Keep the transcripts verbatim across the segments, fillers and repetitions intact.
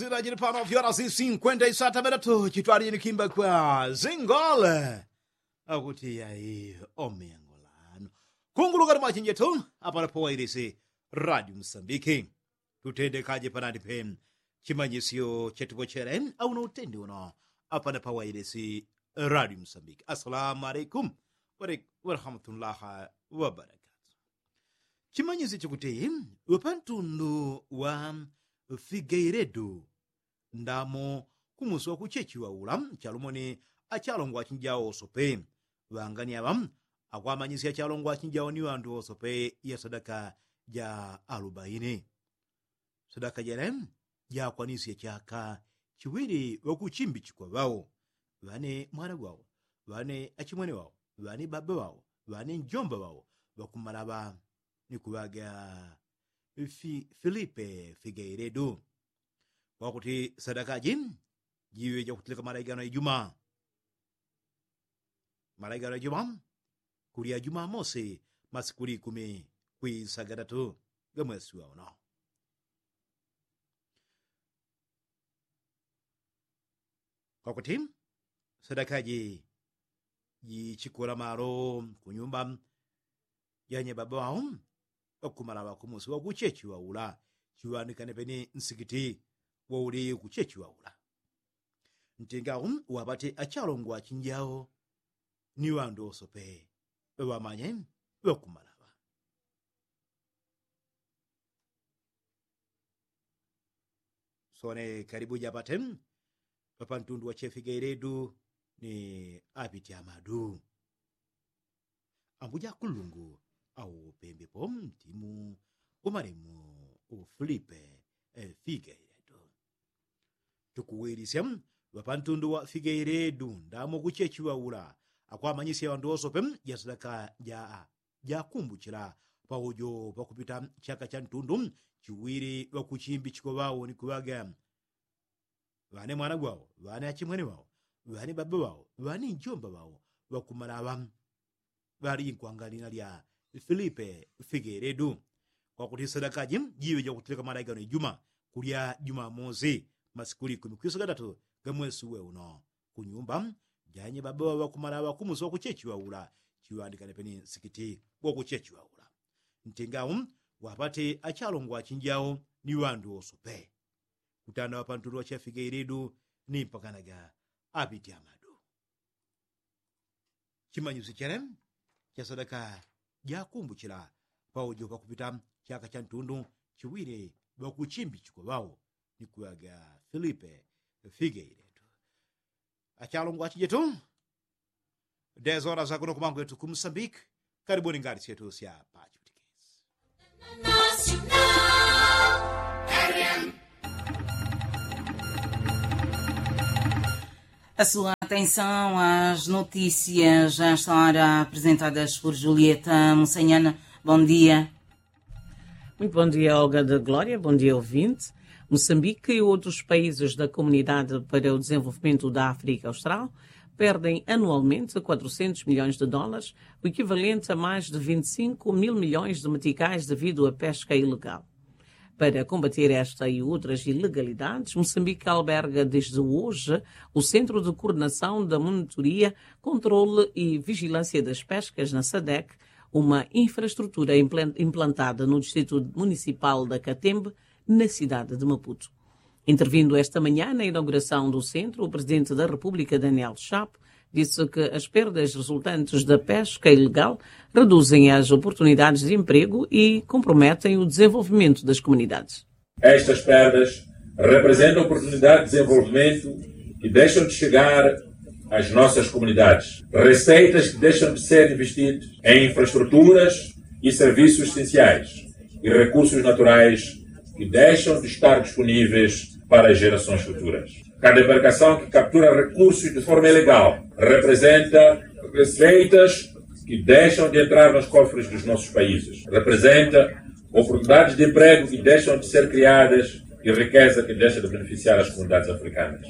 Zilajili pano vyora zi sinkwenta isata medatu chitwalini kimba kwa zingole akuti yai omengo lanu kungulukani mwachinjetu apana pawailisi radio msambiki. Tutendekaje panani pe chimanyisyo chetupochele au na utendi uno apana pawailisi radio msambiki. Assalamu alaikum warahmatullahi wabarakatu. Chimanyisyo chikuti ŵapantundu wa figeiredu ndamo kumusi wakuchechiŵa ula chalumoni achalongwa achinjawo osope. Ŵangani aŵa akwamanyisya achalongwa achinjawo ni ŵandu osope ya sadaka ja alubaini. Sadaka jele jakwanisye chaka chiwili ŵakuchimbichikwa ŵao ŵane mwana gwawo ŵane achimwene wao ŵane baba wao ŵane njomba wao ŵakumalaŵa ni kuŵaga filipe figeiredu. Kwakuti sadakaji jiŵe jakutilika malaigano ya juma malaigano ya juma kulya jumamosi masikuli ikumi kwisagadatu gamwesi wauno. Kwakuti sadakaji jichikula malo kunyumba janye baba wao ŵakumala ŵakumusi wakuchechi waula chiŵandikane peni nsikiti wauli kuchechi waula. Ntinga au ŵapate achalongwa achinjao ni ŵandu wosope ŵamanye ŵakumala ŵa sone kalibu japate ŵapantundu wachefigeile du ni apiti amadu. Ambuja kulungu au pembepo mtimu umalemu ufilipe figeiledu. Tukuwilisya ŵapantundu wa figeiledu ndamo kuchechi waula akwamanyisya ŵandu wosope jasadaka ja jakumbuchila paujo pakupita chaka chantundu chiwili ŵakuchimbichikwa ŵao ni kuŵaga ŵane mwana gwao ŵane achimwene wao ŵane baba wao ŵane njomba wao ŵakumalaŵa ŵali nkwanga lina lya filipe figeledu. Kwakuti sadakaji jiŵe jakutilika malaigano ijuma kulya jumamosi masikuli ikumi kwisagadatu gamwesi uwe uno kunyumba janye baba wao ŵakumalaŵa kumusi wakuchechi waula chiŵandikane peni nsikiti wakuchechi waula. Ntingau wapate achalongwa achinjao ni ŵandu wosope kutanda ŵapantundu wachefigeile du ni mpakanaga apiti amadu. Chimanyisyo chele chasadaka jakumbuchila paujo pakupita chaka chantundu chiwili ŵakuchimbichikwa ŵao ni kuŵaga filipe figeiledu. Achalongwa achijetu dez horas akuno kumangwetu ku musambiki. Karibuni ngati syetu sya pachiputikisi. A sua atenção às notícias já estão ora apresentadas por Julieta Mussaniana. Bom dia. Muito bom dia, Olga da Glória. Bom dia, ouvinte. Moçambique e outros países da Comunidade para o Desenvolvimento da África Austral perdem anualmente quatrocentos milhões de dólares, o equivalente a mais de vinte e cinco mil milhões de meticais, devido à pesca ilegal. Para combater esta e outras ilegalidades, Moçambique alberga desde hoje o Centro de Coordenação da Monitoria, Controle e Vigilância das Pescas, na SADEC, uma infraestrutura implan-, implantada no Distrito Municipal da Catembe, na cidade de Maputo. Intervindo esta manhã na inauguração do centro, o Presidente da República, Daniel Chapo, disse que as perdas resultantes da pesca ilegal reduzem as oportunidades de emprego e comprometem o desenvolvimento das comunidades. Estas perdas representam oportunidades de desenvolvimento que deixam de chegar às nossas comunidades, receitas que deixam de ser investidas em infraestruturas e serviços essenciais e recursos naturais que deixam de estar disponíveis para as gerações futuras. Cada embarcação que captura recursos de forma ilegal representa receitas que deixam de entrar nos cofres dos nossos países, representa oportunidades de emprego que deixam de ser criadas e riqueza que deixa de beneficiar as comunidades africanas.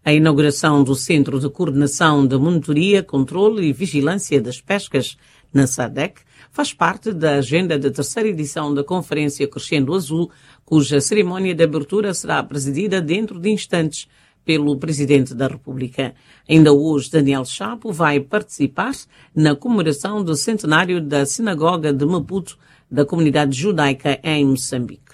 A inauguração do Centro de Coordenação de Monitoria, Controle e Vigilância das Pescas, na SADEC, faz parte da agenda da terceira edição da conferência crescendo azul, cuja cerimónia de abertura será presidida dentro de instantes pelo presidente da república. Ainda hoje daniel chapo vai participar na comemoração do centenário da sinagoga de maputo, da comunidade judaica em moçambique.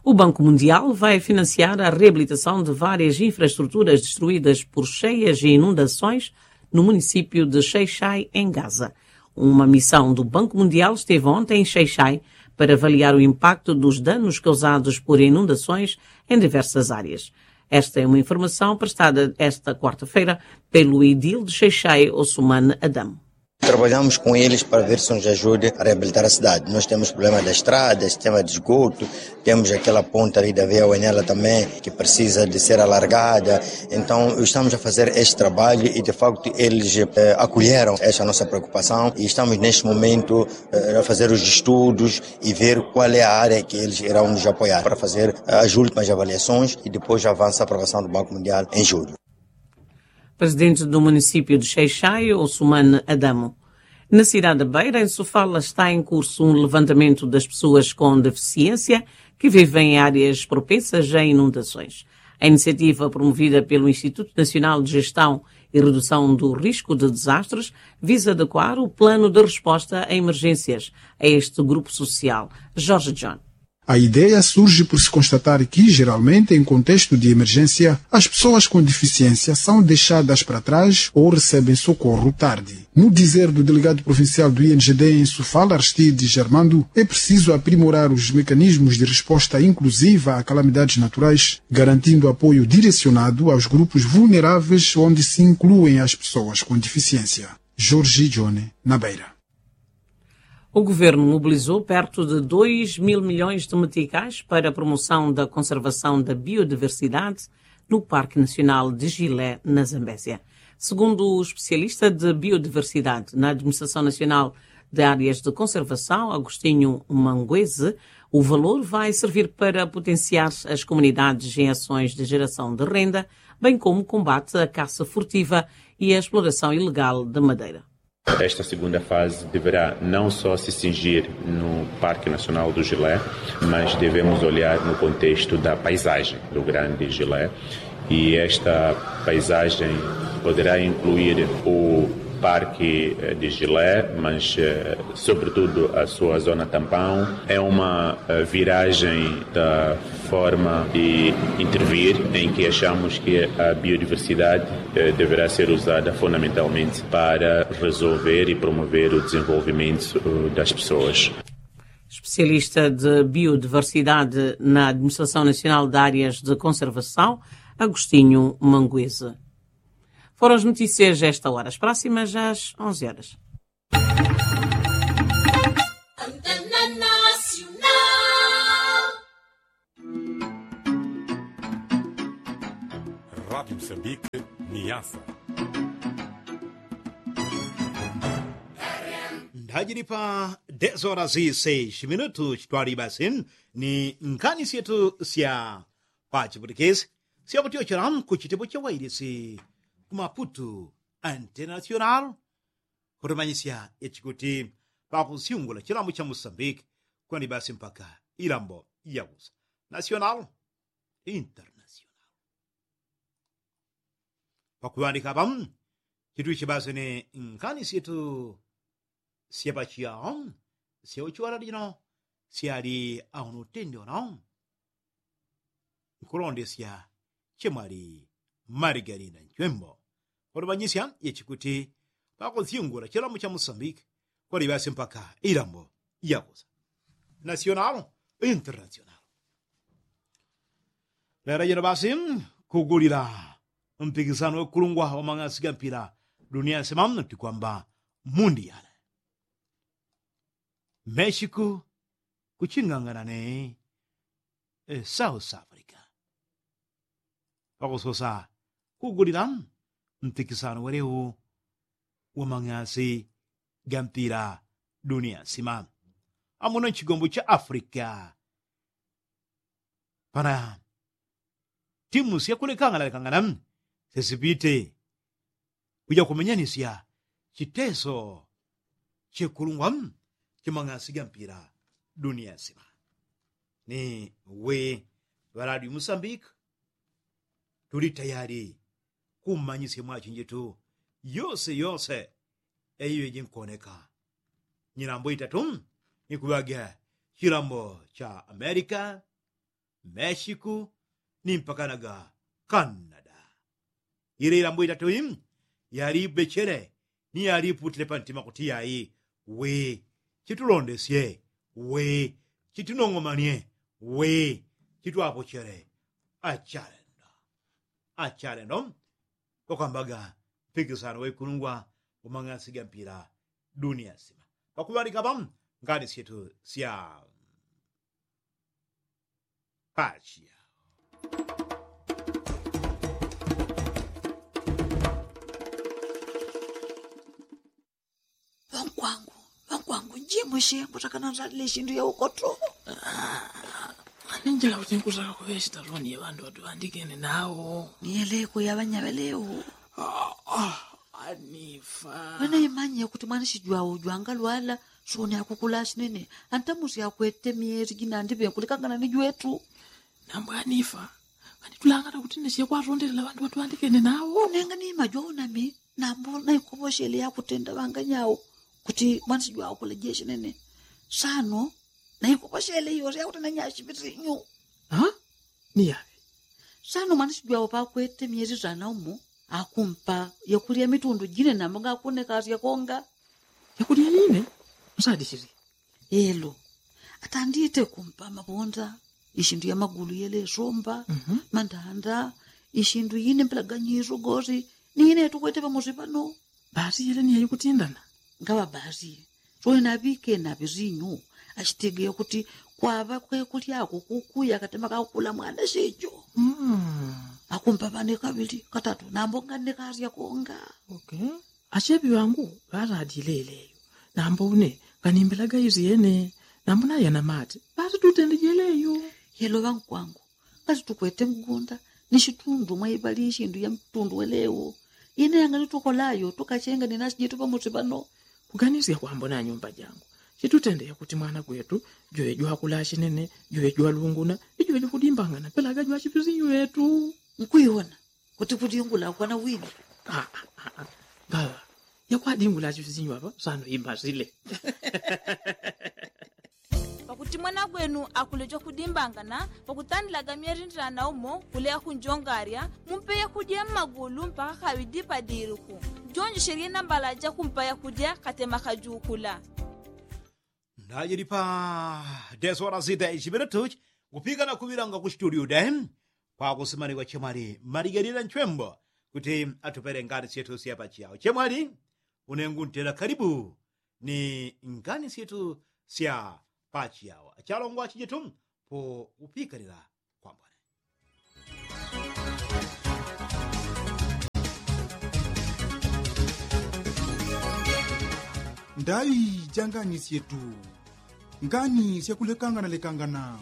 O banco mundial vai financiar a reabilitação de várias infraestruturas destruídas por cheias e inundações no município de xaixai em gaza. Uma missão do banco mundial esteve ontem em xaixai para avaliar o impacto dos danos causados por inundações em diversas áreas. Esta é uma informação prestada esta quarta-feira pelo edil de xaixai osman adam. Trabalhamos com eles para ver se nos ajude a reabilitar a cidade. Nós temos problema das estradas, tema de esgoto, temos aquela ponta ali da veia oenela também, que precisa de ser alargada. Então estamos a fazer este trabalho e de facto eles acolheram essa nossa preocupação e estamos neste momento a fazer os estudos e ver qual é a área que eles irão nos apoiar para fazer as últimas avaliações e depois avança a aprovação do banco mundial em julho. Presidente do município de xaixai osman adamo. Na cidade da beira em sofala está em curso um levantamento das pessoas com deficiência que vivem em áreas propensas a inundações. A iniciativa promovida pelo instituto nacional de gestão e redução do risco de desastres visa adequar o plano de resposta a emergências a este grupo social. Jorge john. A ideia surge por se constatar que geralmente em contexto de emergência as pessoas com deficiência são deixadas para trás ou recebem socorro tarde. No dizer do delegado provincial do ingd em sofala aristides armando, é preciso aprimorar os mecanismos de resposta inclusiva a calamidades naturais, garantindo apoio direcionado aos grupos vulneráveis onde se incluem as pessoas com deficiência. Jorge john, na beira. O governo mobilizou perto de dois mil milhões de meticais para a promoção da conservação da biodiversidade no parque nacional de gilé na zambésia. Segundo o especialista de biodiversidade na administração nacional de áreas de conservação agostinho manguese, o valor vai servir para potenciar as comunidades em ações de geração de renda, bem como combate à caça furtiva e à exploração ilegal de madeira. Esta segunda fase deverá não só se cingir no parque nacional do gilé, mas devemos olhar no contexto da paisagem do grande gilé. E esta paisagem poderá incluir o parque de gilé, mas sobretudo a sua zona tampão. É uma viragem da forma de intervir em que achamos que a biodiversidade deverá ser usada fundamentalmente para resolver e promover o desenvolvimento das pessoas. Especialista de biodiversidade na administração nacional de áreas de conservação, agostinho manguese. Foram as notícias a esta hora as próximas às onze horas. Rádio moçambique, niasa. Ndajili pa dez horas seis minutos twali basi ni nkani syetu sya pachiputikisi sya kutyochela ku chitepo cha wailisi ku maputu international. Kutumanyisya yachikuti pakusyungula chilambo cha musambiki kwani basi mpaka ilambo yakusa national international. Pakuŵandika apa chitwichi basi ni nkani syetu sya pachiyao sya uchiwala lino syali awo nutende uno. Nkulondesya chemwali marigalina nchwembo. Kulumanyisya yechikuti pakusyungula chilambo cha musambiki kwali basi mpaka ilambo yakusa national international. Lera jino basi kugulila mpikisano wekulungwa wa mang'asi ga mpila dunia nsima tikwamba mundiale meshiku kuchingangana ne south africa. Pakusosa kugulila mpikisano welewu wa mang'asi ga mpila dunia nsima amuno nchigombo cha africa. Pana timu syakulekangana lekangana sesipite kuja kumenyanisya chiteso chekulungwa chimang'asi ga mpila dunia nsima. Ni we ŵaladi musambika tuli tayali kummanyisya mwachinjitu yose yose. Eiyo iji nkoneka nyilambo itatu ni kuŵaga chilambo cha amerika, meshiku ni mpakanaga kanada. Ile ilambo itatu i yalibechele ni yaliputile pantima kuti yai we chitulondesye we chitunong'omanie we chitwapochele. Achalendo achalendo kwakwambaga mpikisano waikulungwa umang'asi ga mpila dunia nsima. Pakuŵalika pa ngani syetu sya pachiya. Ŵankwangu, ŵankwangu, njimwe shengo takana nzalile shindu ya ukoto. Ninjila kuti nkutaka kuŵe shitaloni ya ŵandu ŵatuŵandikene nawo. Niyeleko ya ŵanyaŵelewo. Anifa. Wena imanye kuti mwanishijwawo jwangalwala soni akukula shinene. Antamusi akwete myezi jinandi ŵenkulekangana ni jwetu. Nambo anifa. Kanitulangana kuti nesye kwatondelela ŵandu ŵatuŵandikene nawo. Nenga ni majwawo nami nambo naikoposhele yakutenda ŵanganyawo kuti mwanishijwawo kulejeshe nene. Sano naikoposhele yose yakutenda nyashipisinyu. Ni yaŵe? Sano mwanishijwawo pakwete myezi sana umo akumpa yakulya mitundu jine nambo ngakunekasya konga. Yakulya yine? Nsadishili. Elo atandite kumpa mabonda ishindu ya magulu yelesomba, mandanda, ishindu yine mpelaganyiso gosi ni yine yatukwete pamosi pano. Basi yele ni yaikutindana. Ngaŵa basi. Soye naŵike naŵe sinyu ashitegeya kuti kwaŵa kwekulyako kukuya katema kakukula mwana shejo. Akumpa ŵane kaŵili katatu nambo nganekasya konga. Asheŵi ŵangu ŵaladile yeleyo. Nambo une nganimbelaga isyene. Nambo nayana mate basi tutende jeleyo. Yelo ŵankwangu ngati tukwete mgunda ni shitundu mwaiŵali ishindu ya mtundu welewo. Ine yanganitukola yo tukachenga ni nasi jitu pamosi pano. Kuganisya kwambona nyumba jangu chitutende yakuti mwana gwetu juwe jwakula shinene juwe jwalunguna ijuwe jwakudimbangana pelaga jwachipisinyu yetu. Nkwiwona kuti kudingula kwana wini. Ngaŵa yakwadingula chifisinyu apa sano imasile. Pakuti mwana gwenu akuleja kudimbangana pakutandilaga myerindilana umo kuleya kunjongarya mumpe yakudya mmagulu mpaka kaŵidi padiluku. Jonjeshelye nambala jakumpa yakudya katema kajukula. Ndajili pa desora sita ishipita tuchi kupika na kuŵilanga ku situdio de. Kwakusimanikwa chemwali maligalila nchwembo kuti atupele ngani syetu sya pachiyawo chemwali. Unengu ntela kalibu ni ngani syetu sya pachiyawo achalongwa chijitu po upikalila kwambone. Ndai ja ngani syetu. Ngani syakulekangana lekangana.